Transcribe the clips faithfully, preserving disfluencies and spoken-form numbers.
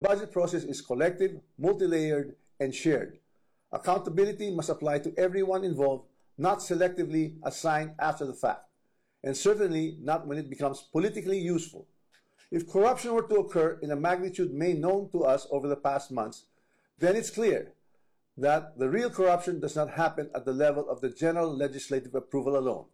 budget process is collective, multi-layered, and shared. Accountability must apply to everyone involved, not selectively assigned after the fact, and certainly not when it becomes politically useful. If corruption were to occur in a magnitude made known to us over the past months, then it's clear that the real corruption does not happen at the level of the general legislative approval alone.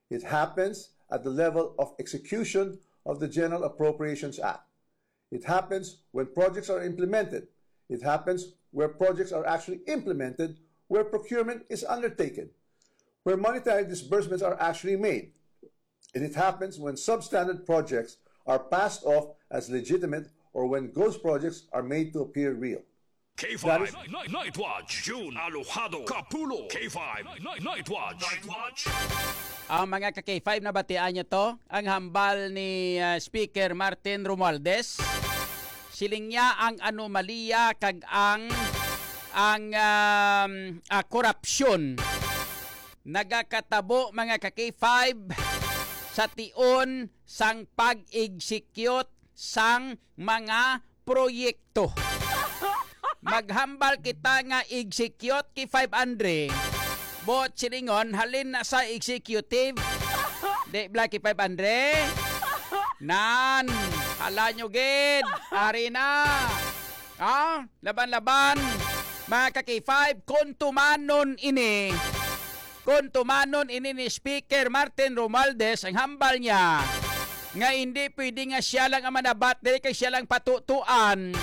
It happens at the level of execution of the General Appropriations Act. It happens when projects are implemented. It happens where projects are actually implemented, where procurement is undertaken, where monetary disbursements are actually made. And it happens when substandard projects are passed off as legitimate or when ghost projects are made to appear real. K five Night, Night Watch, June Alojado Kapulo. K five Night, Night Watch. Night Watch. Ang mga ka-K five, nabatian nyo to? Ang hambal ni, ah, Speaker Martin Romualdez. Siling niya ang anomalya kag ang, ang, um, ah, korupsyon nagakatabo, mga ka-K five, sa tion sang pag-execute sang mga proyekto. Maghambal kita nga execute, K five Andre. Buot silingon, halin na sa executive. Di bala, K five Andre? Nan, hala nyo gid. Ari na. Ah, laban-laban. Mga ka-K five, kung tumanon ini, kung tumanon ini ni Speaker Martin Romualdez, ang hambal niya nga hindi pwede nga siya lang ang manabat diri kay siya lang patutuan.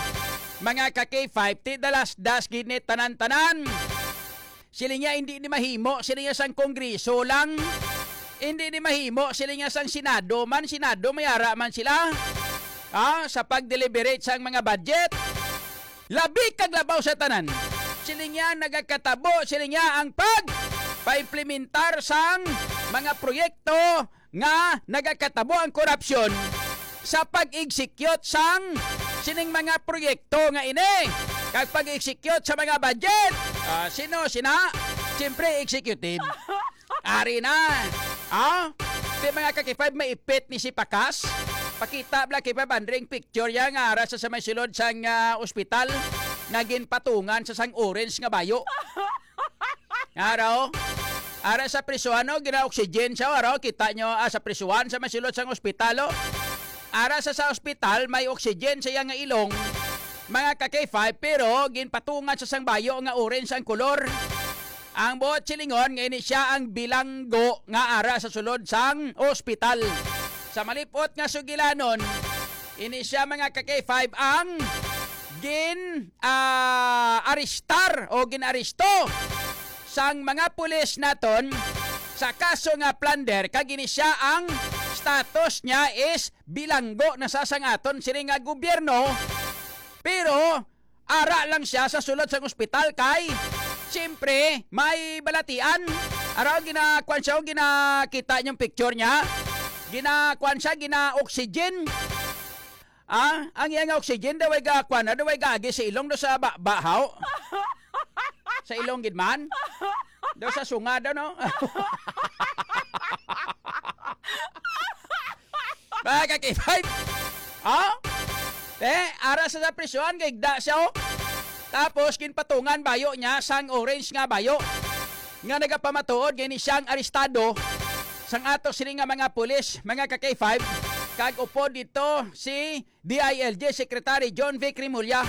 Mga ka-K five, ti dalasdas gid ni tanan-tanan. Sila niya hindi ni mahimo, sila niya sang Kongreso lang. Hindi ni mahimo, sila niya sang Senado man, Senado may ara man sila. Ah, sa pag-deliberate sang mga budget. Labi kag labaw sa tanan. Sila niya nagakatabo, sila niya ang pag paimplementar sang mga proyekto nga nagakatabo ang korupsyon sa pag-execute sang sining mga proyekto nga ini, kag pag-execute sa mga budget. Ah, sino sina? Siyempre, executive. Ari na. Ah? Di, mga ka-K five, maipit ni si Pakas. Pakita bala, K five, Andre, ang picture niya nga ara sa, sa may sulod sang, ah, ospital nga ginpatungan sa sang orange nga bayo. Ara, oh. Ara sa prisuhan, oh, gina-oxygen siya, ara, oh. Kita nyo, ah, sa prisuhan, sa may sulod sang ospital, oh. Ara sa, sa ospital, may oxygen sa iya nga ilong, mga ka-K five, pero ginpatungan sa sang bayo nga orange ang kolor. Ang buot silingon nga ini siya ang bilanggo nga ara sa sulod sang ospital. Sa malipot nga sugilanon, ini siya, mga ka-K five, ang gin, ah, arestar o gin-aresto sang mga pulis naton sa kaso nga plunder, kag ini siya ang status niya is bilanggo na sa sang aton sini nga gobyerno, pero ara lang siya sa sulod sang ospital kay siyempre may balatian. Ara, ginakuan siya, ginakita niyong picture niya. Ginakuan siya, gina-oxygen. Ah, ang iya nga oxygen daw ay gakuan na, daw ay gaagi sa ilong, daw sa ba-, bahaw. Sa ilong gid man. Daw sa sunga daw, no? Mga ka-K five. Oh? Eh, ara sa, sa prisuhan, gaigda siya, oh. Tapos, ginpatungan bayo niya sang orange nga bayo nga nagapamatuod nga ini siyang arestado sang ato sini nga mga pulis, mga ka-K five, kag upod dito si D I L G Secretary John Vic Remulla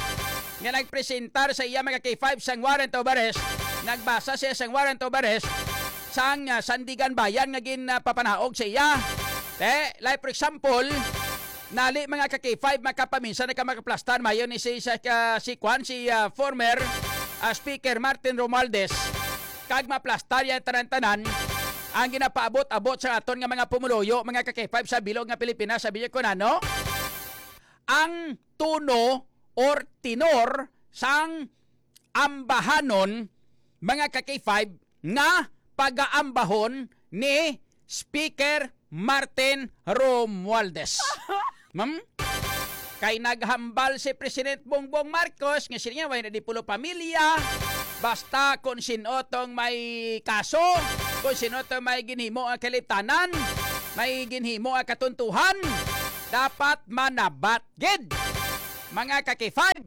nga nagpresentar sa iya, mga K five, sang warrant of arrest. Nagbasa siya sang warrant of arrest sang, ah, Sandiganbayan nga ginpapanaog sa iya. Te, like for example, nali, mga ka-K five, makapaminsan na ka makaplastar mayo ni si, sa, ka, si Kwan, si, ah, former, ah, Speaker Martin Romualdez. Kag maplastar yan tanan-tanan ang ginapaabot-abot sa aton nga mga pumuluyo, mga ka-K five, sa bilog nga Pilipinas, sabi niya ko na, no? Ang tono or tenor sang ambahanon, mga ka-K five, nga pagaambahon ni Speaker Martin Romualdez. Ma'am? Kay naghambal si President Bongbong Marcos nga siya nga way na di pulo pamilya, basta kung sino tong may kaso, kung sino tong may ginhimo ang kaliptanan, may ginhimo ang katuntuhan, dapat manabat gid. Mga ka-K five,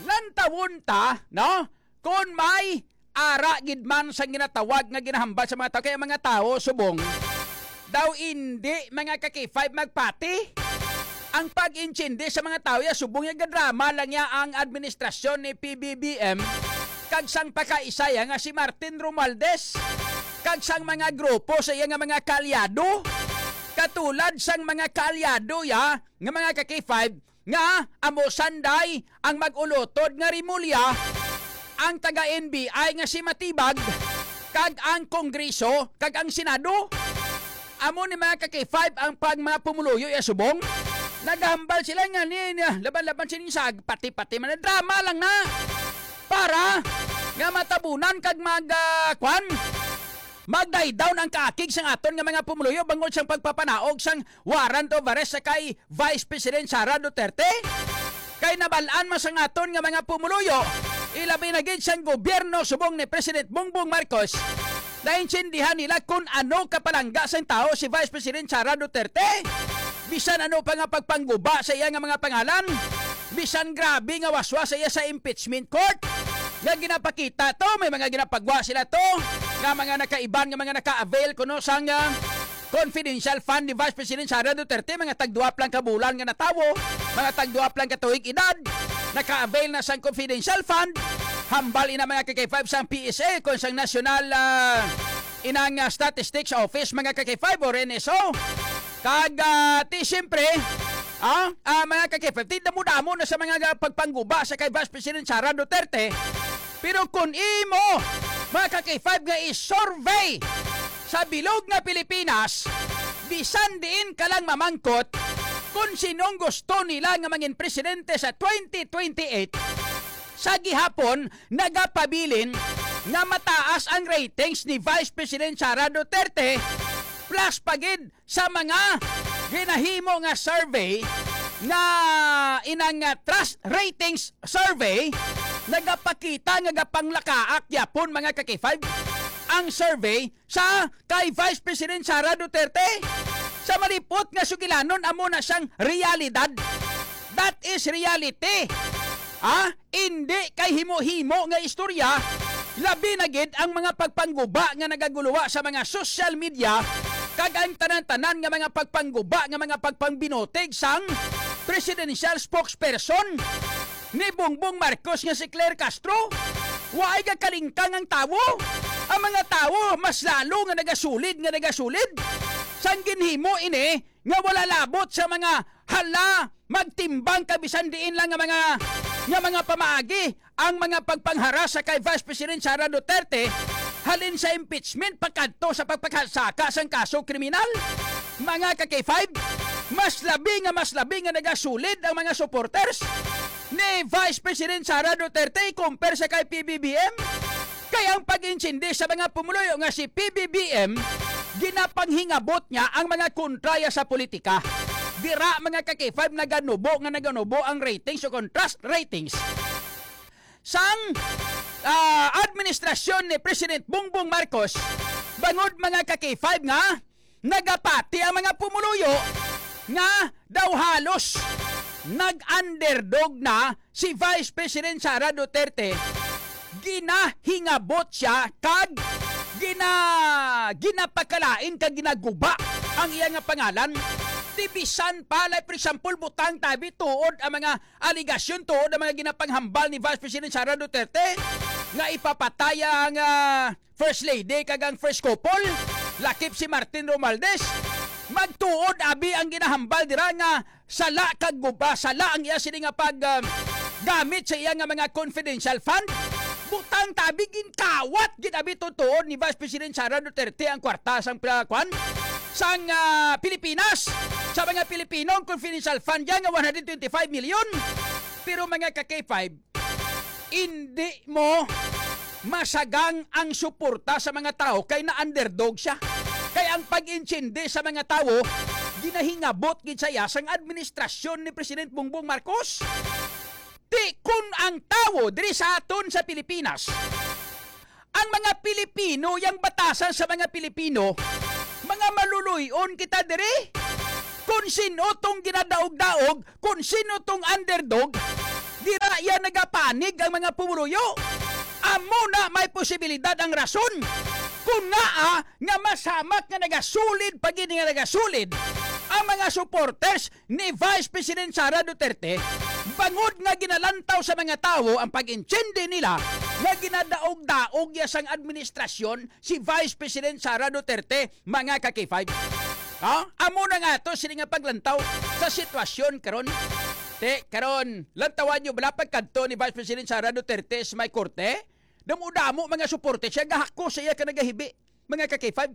lantawon ta, no? Kung may ara gid man sang ginatawag nga ginahambal sa mga tawo, kay ang mga tawo subong daw indi, mga ka-K five, magpati. Ang pag-intindi sa mga tawo ya subong ya gadrama lang ya ang administrasyon ni P B B M kag sang pakaisa ya nga si Martin Romualdez kag sang mga grupo sa iya nga mga kaalyado, katulad sang mga kaalyado ya nga mga ka-K five nga amo sanday ang mag-ulotod nga rimulya, ang taga N B I nga si Matibag, kag ang Kongreso kag ang Senado. Amo ni mga ka-K five ang pag mga pumuluyo ya subong. Nagahambal sila nga ni, ni laban-laban sining sag, pati-pati man na drama lang na para nga matabunan kag mag, ah, kwan, mag-die down ang kaakig sang aton nga mga pumuluyo bangod sang pagpapanaog sang warrant of arrest sa kay Vice President Sara Duterte. Kay nabal-an man sang aton nga mga pumuluyo, ilabi na gid sang gobyerno subong ni President Bongbong Marcos, naintindihan nila kung ano kapalangga sang tawo si Vice President Sara Duterte. Bisan ano pa nga pagpangguba sa iya nga mga pangalan, bisan grabe nga waswas sa iya sa impeachment court, nga ginapakita to, may mga ginapagwa sila to, nga mga nakaiban, nga mga naka-avail kuno sang, ah, confidential fund ni Vice President Sara Duterte, mga tagduap lang ka bulan nga natawo, mga tagduap lang ka tuig edad, naka-avail na sang confidential fund, hambal ina mga ka-K five sang P S A, kon sang National, ah, inang, ah, Statistics Office, mga ka-K five or N S O. Kag, ah, ti siyempre, ah, ah, mga ka-K five, ti damo-damo na sa mga ga-, pagpangguba sa kay Vice President Sara Duterte. Pero kung imo, mga ka-K five, nga i-survey sa bilog nga Pilipinas, bisan diin ka lang mamangkot kung sinong gusto nila nga mangin presidente sa twenty twenty-eight, sa gihapon, nagapabilin nga mataas ang ratings ni Vice President Sara Duterte, plus pa gid sa mga ginahimo nga survey nga inang, ah, trust ratings survey, nagapakita nga gapanglakaak gyapon, mga ka-K five, ang survey sa kay Vice President Sara Duterte. Sa malipot nga sugilanon, amo na siyang realidad. That is reality. Ha? Indi kay himo-himo nga istorya, labi na gid ang mga pagpangguba nga nagaguluwa sa mga social media, kag ang tanan-tanan nga mga pagpangguba nga mga pagpangbinutig sang presidential spokesperson ni Bongbong Marcos nga si Claire Castro. Waay gakalingkang ang tawo. Ang mga tawo mas lalo nga nagasulid, nga nagasulid. Sang ginhimo ini nga wala labot sa mga, hala, magtimbang ka bisan diin lang nga mga, nga mga pamaagi ang mga pagpangharas sa kay Vice President Sara Duterte, halin sa impeachment pakadto sa pagpakasaka sang kaso kriminal. Mga ka-K five, mas labi nga mas labi nga nagasulid ang mga supporters ni Vice President Sara Duterte i-compare sa kay P B B M. Kay ang pag-intindi sa mga pumuluyo nga si P B B M, ginapanghingabot niya ang mga kontraya sa politika. Dira, mga ka-K five, naganubo nga naganubo ang ratings o contrast ratings sang, ah, administrasyon ni President Bongbong Marcos, bangod, mga ka-K five, nga nagapati ang mga pumuluyo nga daw halos nag-underdog na si Vice President Sara Duterte. Ginahingabot siya kag gina-, ginapakalain kag ginaguba ang iya nga pangalan. Ti bisan pa, like, for example, butang tabi tuod ang mga aligasyon, tuod ang mga ginapanghambal ni Vice President Sara Duterte nga ipapatay ang, ah, First Lady kag ang first couple, lakip si Martin Romualdez. Magtuod abi ang ginahambal dira nga sala kag guba, sala ang iya sini nga pag, ah, gamit sa iya nga mga confidential fund. Butang tabi, ginkawat gid abi tuod ni Vice President Sara Duterte ang kwarta sang pila-, kwan, sang, ah, Pilipinas, sa mga Pilipino, ang confidential fund niya nga one hundred twenty-five million. Pero, mga ka-K five, indi mo masagang ang suporta sa mga tawo kay na-underdog siya. Kay ang pag-intindi sa mga tawo, ginahingabot gid sa iya sang administrasyon ni President Bongbong Marcos. Ti kun ang tawo diri sa aton sa Pilipinas, ang mga Pilipino, yang batasan sa mga Pilipino, mga maluluy-on kita diri. Kung sino tong ginadaog-daog, kung sino tong underdog, dira iya nagapanig ang mga pumuruyo. Amo na may posibilidad ang rason kung ngaa nga masamak nga nagasulid pa gid nga nagasulid ang mga supporters ni Vice President Sara Duterte, bangod nga ginalantaw sa mga tawo ang pag-intindi nila nga ginadaog-daog ya sang administrasyon si Vice President Sara Duterte, mga ka-K five. Ha? Amo na nga to sini nga paglantaw sa sitwasyon karon. Te, karon, lantawan nyo bala pagkadto ni Vice President Sara Duterte sa may korte? Damo-damo mga suporte siya, gahako sa iya ka nagahibi, mga ka-K five.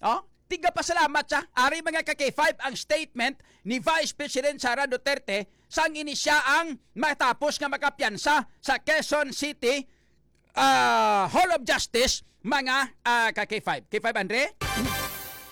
Oh? Tigapasalamat siya. Ari, mga ka-K five, ang statement ni Vice President Sara Duterte sang ini siya ang matapos nga makapiyansa sa Quezon City ah, Hall of Justice, mga ah, ka-K five. K five, Andre?